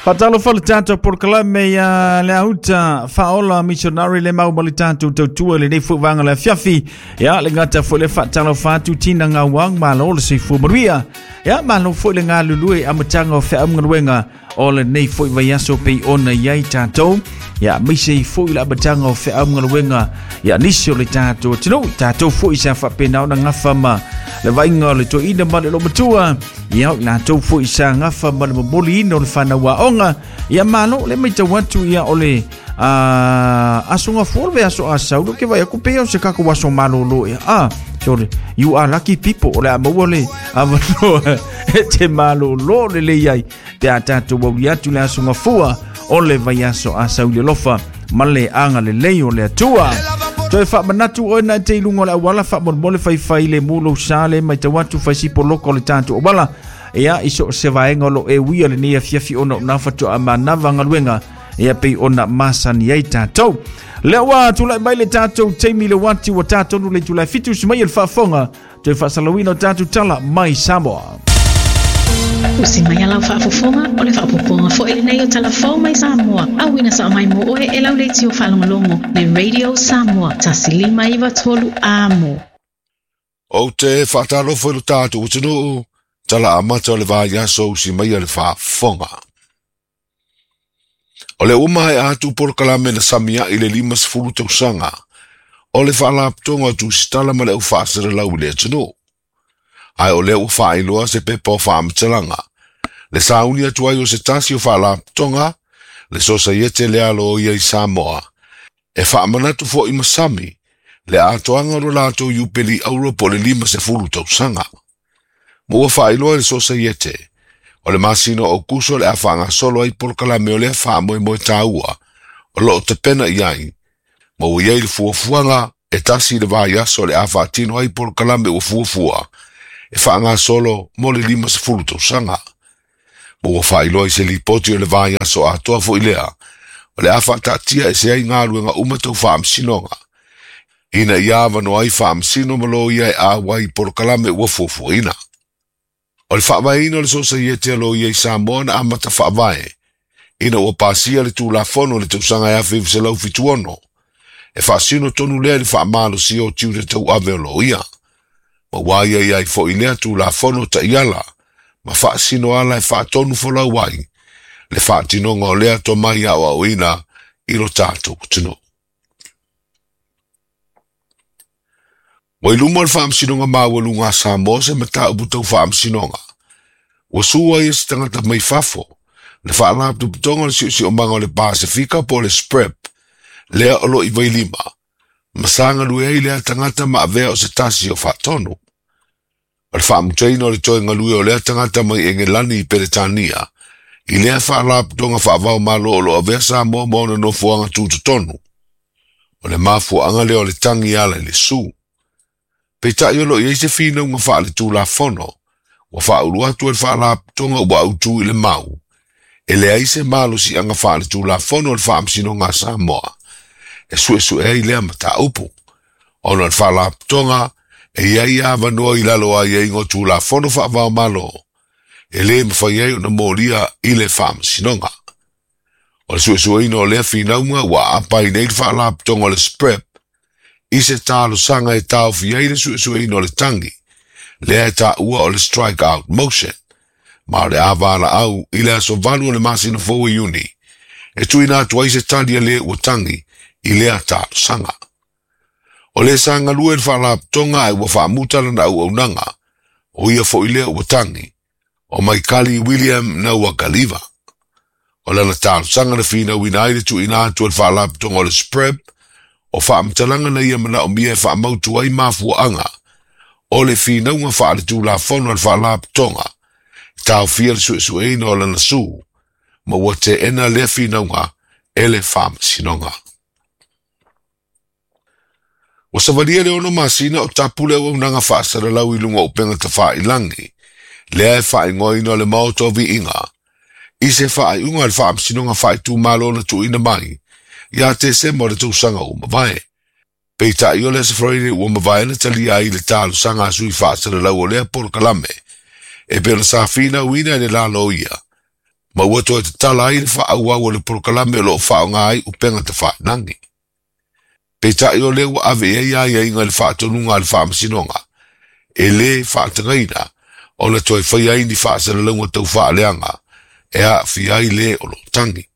Faatalofa le tatou polokalame ia le auta faaola missionary le mau ma le tatou tautua i lenei foi vaega o le afiafi. Ia le gata foi le faatalofa atu tina gauang malo le soifua manuia. Ia malo foi le galulue i amataga o feaugaluega o lenei foi vaiaso pei ona i ai tatou. Ia aemaise ai foi le amataga o feaugaluega ia nisi o le tatou atunuu, tatou foi sa faapena ona gafa ma le vaaiga o le toeaina ma le olomatua. Ia o i latou foi sa gafa ma le momoliina o le fanau aoga. Ia malo le matau atu ia o le aso gafua o le vaiaso a sau ke vai aku pei o se kako aso malolo ia. Ah, sorry. You are lucky people. O le a maua le avanoa e te malolo lelei ai pe a tatou auli atu le aso gafua o le vaiaso a sau i le alofa ma le agalelei o le Atua. Toe faamanatu oe na te i luga o le auala faamolemole faifai le mu lou sa le matau atu fai sipo loko o le tatou auala. Ia i so o se vaega o lo o e uia lenei afiafi ona o na faatoa manava galuega ia pei ona masani ai tatou. Lea ua tulai mai le tatou taimi le uati ua tatonu le itula e 7 usi mai e le faafofoga toe faasalauina o tatou tala mai Samoa. Usi mai a lau faafofoga, o le faaopoopoga foi lenei o tala fou mai Samoa, auina sao mai mo oe e lau leitio faalogologo le Radio Samoa 1593 Amo. Ou te faatalofa i lo tatou atunuu, tala amata o le vaiaso usi maia le faafofoga. O lea ua maea atu polokalame na samiai le 50 tausaga o le Faalapotopotoga o Tusitala ma le Au Faasalalau i le atunuu. Ae o lea ua faailoa se pepa o faamatalaga, le sauni atu ai o se tasi o Faalapotopotoga, le Sosaiete lea Loia i Samoa, e faamanatu foi ma sami le atoaga o lo latou iupeli auro po o le 50 tausaga. Ma ua faailoa e le Sosaiete, o le masina o Aokuso o le a faagasolo ai polokalame o lea faamoemoe taua o lo o tapena i ai, ma ua i ai le fuafuaga e tasi le vaiaso o le a faatino ai polokalame ua fuafua e faagasolo mo le 50 tausaga. Ma ua faailoa i se lipoti o le vaiaso atoa foi lea o le a faataatia ese ai galuega uma tau faamasinoga, ina ia avanoa ai faamasino ma loia e auai i polokalame ua fuafuaina. O le faavaeina o le Sosaiete a Loia i Samoa na amata faavae ina ua pasia le Tulafono i le tausaga e 1976, e faasino tonu lea i le faamalosia o tiute tauave o loia, ma ua aiaia ai foi lea Tulafono taiala ma faasino ala e faatonu folau ai le faatinoga o lea tomai aoaoina i lo tatou atunuu. Ua i luma o le Faamasinoga Maualuga a Samoa se mataupu tau faamasinoga. Ua sua ai e se tagata mai fafo le Faalapotopotoga o le Siosiomaga o le Pasefika po o le SPREP, lea o lo o i Vailima, ma sa galue ai lea tagata ma avea o se tasi o faatonu. O le faamutaina o le toe galue o lea tagata mai Engelani i Peretania i lea faalapotopotoga faava-o-Malo o lo o avea Samoa ma ona nofoaga tutotonu. O le mafuaaga lea o le tagi e ala i le su. Peitai o lo o i ai se finauga faaletulafono ua faaulu atu e le Faalapotopotoga ua autu i le mau, e leai se malosiaga faaletulafono o le Faamasinoga a Samoa e suesue ai lea mataupu, ona o le Faalapotopotoga e i ai avanoa i lalo o aiaiga o Tulafono faava-o-Malo e le mafai ai ona molia i le Faamasinoga. O le suesueina o lea finauga ua aapa ai nei le Faalapotopotoga o le SPREP i se talosaga e taofi ai le suesueina o le tagi, lea e taua o le Strike Out Motion, ma o le a valaau i le aso 8 o le masina fou o Iuni e tuuina atu ai se tali a le ua tagi i lea talosaga. O le sa galue i le Faalapotopotoga ae ua faamuta lana auaunaga, o ia foi lea ua tagi, o Maikali William Nauakaliva. O lana talosaga na finauina ai le tuuina atu e le Faalapotopotoga o le SPREP o faamatalaga na ia manaomia e faamautu ai mafuaaga o le finauga faaletulafono a le Faalapotopotoga e taofia le suesueina o lana su, ma ua teena lea finauga e le Faamasinoga. Ua savalia le 6 masina o tapu le auaunaga faasalalau i luga o upega tafailangi, lea e faaigoaina o le Maota o Viiga, i se faaiuga a le Faamasinoga Faaitumalo na tuuina mai ia Tesema o le tausaga ua mavae. Peitai o le Aso Faraile ua mavae na talia ai le talosaga a sui faasalalau o lea polokalame, e pei ona sa finauina e le la loia. Ma ua toe tatala ai le faaauau o le polokalame o lo o faaaoga ai upega tafailagi. Peitai o lea ua ave i ai aiaiga i le faatonuga a le Faamasinoga, e lē faatagaina ona toe faia ai ni faasalalauga tau faaleaga e aafia ai lē o lo o tagi.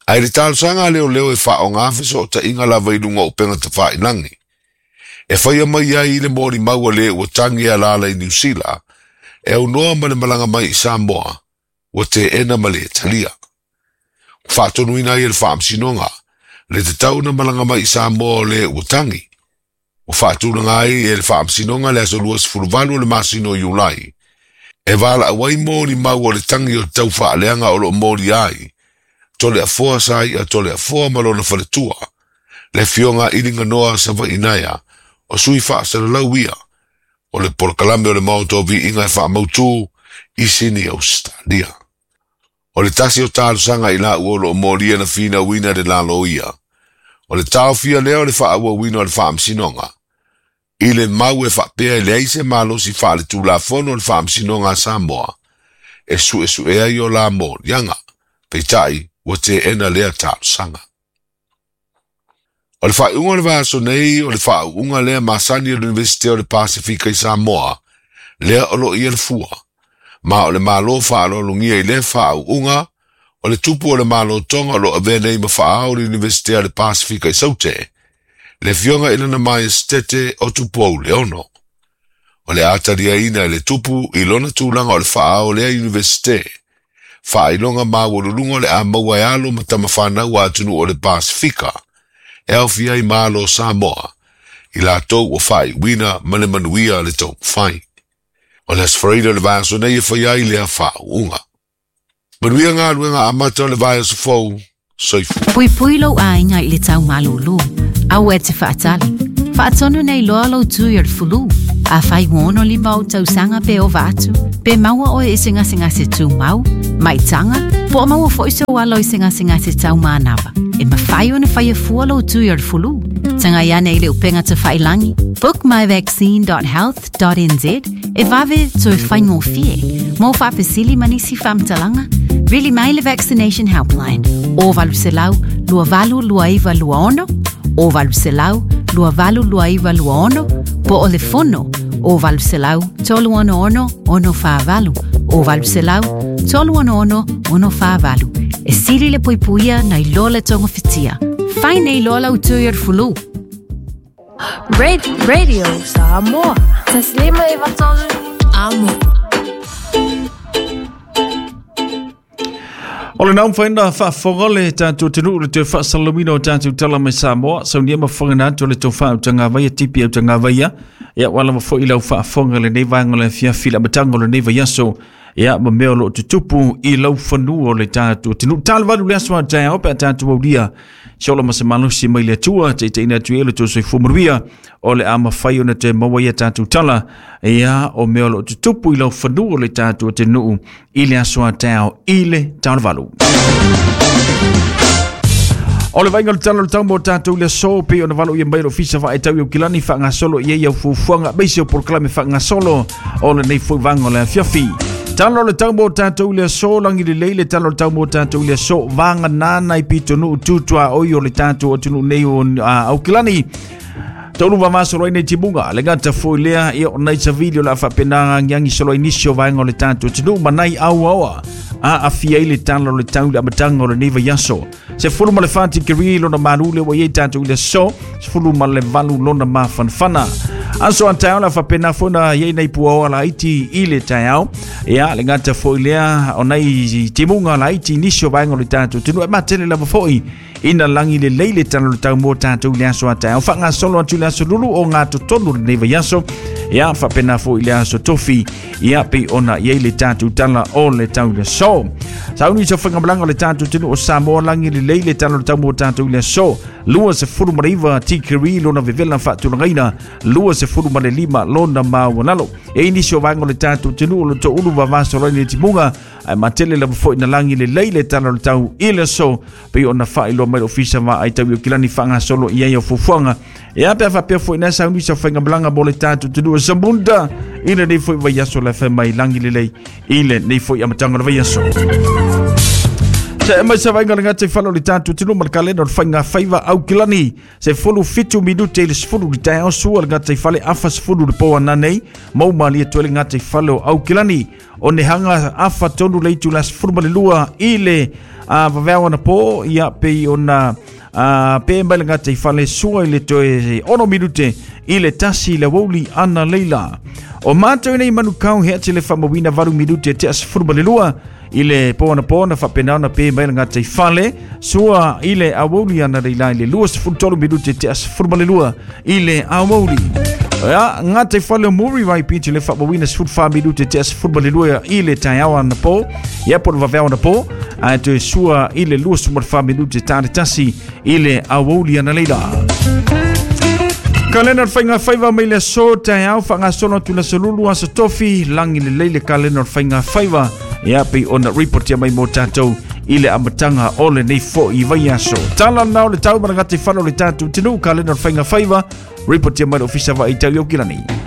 Ae i le talosaga a leoleo e faaaoga fesootaiga lava i luga o upega tafailagi, e faia mai ai le molimau a lē ua tagi e alaala i Niu Sila e aunoa ma le malaga mai i Samoa, ua teena ma le talia. Ua faatonuina ai e le Faamasinoga le tatau ona malaga mai i Samoa o lē ua tagi. Ua faatulaga ai e le Faamasinoga le aso 28 o le masina o Iulai e valaau ai molimau o le tagi o le tau faaleaga o lo o molia ai Toleafoa Sai'a Toleafoa ma lona faletua, le Afioga a Iliganoa Savaiinaea, o sui faasalalau ia o le polokalame o le Maota o Viiga e faamautu i Sini Ausetalia. O le tasi o talosaga i laua o lo o molia na finauina e le laloia, o le taofia lea o le faaauauina o le faamasinoga, i le mau e faapea e leai se malosi faaletulafono o le Faamasinoga a Samoa e suesue ai o la moliaga, peitai ua teena lea talosaga. O le faaiuga o le vaiaso nei o le faauuga lea masani a le Iunivesite o le Pasefika i Samoa, lea o lo o i ai le fua, ma o le Malo faaaloalogia i lea faauuga, o le tupu o le Malo Tonga o lo o avea nei ma faaao o le Iunivesite a le Pasefika i Saute, le Afioga i Lana Maiesetete o Tupou Leono. O le a taliaina e le tupu i lona tulaga o le faaao o lea Iunivesite, faailoga maualuluga o le a maua e alo ma tamafanau a atunuu o le Pasefika, e aofia ai ma alo o Samoa, i latou ua faaiuina ma le manuia le taumafai. O le Aso Faraile o le vaiaso nei e fai ai lea faauuga. Manuia galuega amata o le vaiaso fou. Soifua. Puipui lou aiga i le tau malūlū. Aua e te faatali. Faatonu nei loa lou tui o le fulu. Afai ua 65 ou tausaga pe ova atu, pe maua oe i se gasegase tumau, maitaga, po o maua foi sou alo i se gasegase tau manava, e mafai ona faia fua lou tui o le fulu. Tagai ane i le upega tafailangi bookmyvaccine.health.nz e vave toe faigofie. Mo faafesili ma nisi faamatalaga, vili mai le Vaccination Helpline o 800 2829 26 o 800 2829 26 po o le fono o 800 366 648 o 800 366 648. E sili le puipuia nai lo le togafitia. Fai nei loa lau tui o le fulu. Radio Samoa. Taslima e vatolu. Amo. O le naum whaina whaafonga le tātou te nuu le te whaasalamina o tātou tala mai Samoa. Saunia ma whangana atu le tō wha au tanga tipi au tanga vaia. Ia wala ma fo i lau whaafonga le nei vaenga le fiafi la matanga le nei vaiaso. Ia ma mea o loo tutupu i lau whanua o le tātou te nuu. Tālu le aso a tae pe a tātou aulia. Se ola ma se malosi mai le Atua, taitaiina atu ai le tou soifua manuia, o le a mafai ona toe maua ia tatou tala, ia o mea o lo o tutupu i lau fanua o le tatou atunuu i le aso a taeao i le taonavalu. O le vaaiga o le tala o le tau mo tatou i le aso, pei ona valo ia mai le ofisa faetau i Aukilani faagasolo i ai au fuafuaga aemaise o polokalame faagasolo o lenei foi vaega o le afiafi. Tala o le tau mo tatou i le aso, lagi lelei le tala o le tau mo tatou i le aso, vagana nai pitonuu tutuaoi o le tatou atunuu nei o Aukilani. Taulu vamasolo ai nei timuga, le gata foi lea, ia o nai savili o le a faapena agiagi solo ai nisi o vaega o le tatou atunuu ma nai auaoa a afia ai le tala o le tau i le amataga o lenei vaiaso. 14 tikeri lona malu le ua i ai tatou i le aso, 18 lona mafanafana. Aso a taeao la faapena foi na i ai nai puaoa laiti i le taeao. Ia, le gata foi lea o nai timuga laiti i nisi o vaega o le tatou atunuu. E matele lava foi ina lagi lelei le tala o le tau mo tatou i le aso a taeao. Faagasolo atu i le aso lulu o ngā totonu lenei vaiaso. Ia, faapena foi i le aso tofi. Ia, pei ona i ai le tatou tala o le tau i le aso. Sauni se whangamalaga o le tatou atunuu o Samoa lagi lelei le tala o le tau mo tatou i le aso. 29 tikeri lona vevela faatulagaina, 25 lona maualalo. E i nisi o vaega o le tatou atunuu o lo o ulu vavasolo ai le timuga, ae matele lava foi na lagi lelei le tala o le tau i le aso, pei ona faailoa mai le Ofisa Vaai Tau i Aukilani faagasolo i ai au fuafuaga. Ia pe a faapea foi na sauni sa faigamalaga mo le tatou atunuu o Zamunda i lenei foi vaiaso le fai mai lagi lelei i lenei foi amataga o le vaiaso. Se mai sa vainga le gata i falo le tatou atunuu ma le kalena o le faiga faiva Aukilani se 17 minute i le 10 le taeao sua le gata i fale afa 10 le po ananei mau malie toe le gata i fale o Aukilani o nehanga afa tonu le itu la 12 i le vaveao ana po ia pei ona pe mai le gata i fale sua i le toe 6 minute i le 1 le wouli ana leila. O mātou nei manukau he ati le whamawina 8 minute te 12 i le po ana po na whapena ona pe mai le gata i fale sua i le awouli ana leila i le 23 minute te 12 i le awouli. Ia, ngā te whale o Muri vai piti le whamawina 14 minute te 12 i le taeao ana po. Ia po le vaveao ana po. A te sua i le 24 minute tā le tasi i le awouli ana leila. Kalena o le faiga faiva mai le aso taeao faagasolo atu le aso lulu aso tofi lagi lelei le kalena o le faiga faiva ia pei ona reportia mai mo tatou i le amataga o lenei fo'i vaiaso. Tala lena o le tau ma le gataifale o le tatou atunuu kalena o le faiga faiva reportia mai le Ofisa Vaai Tau i Aukilani.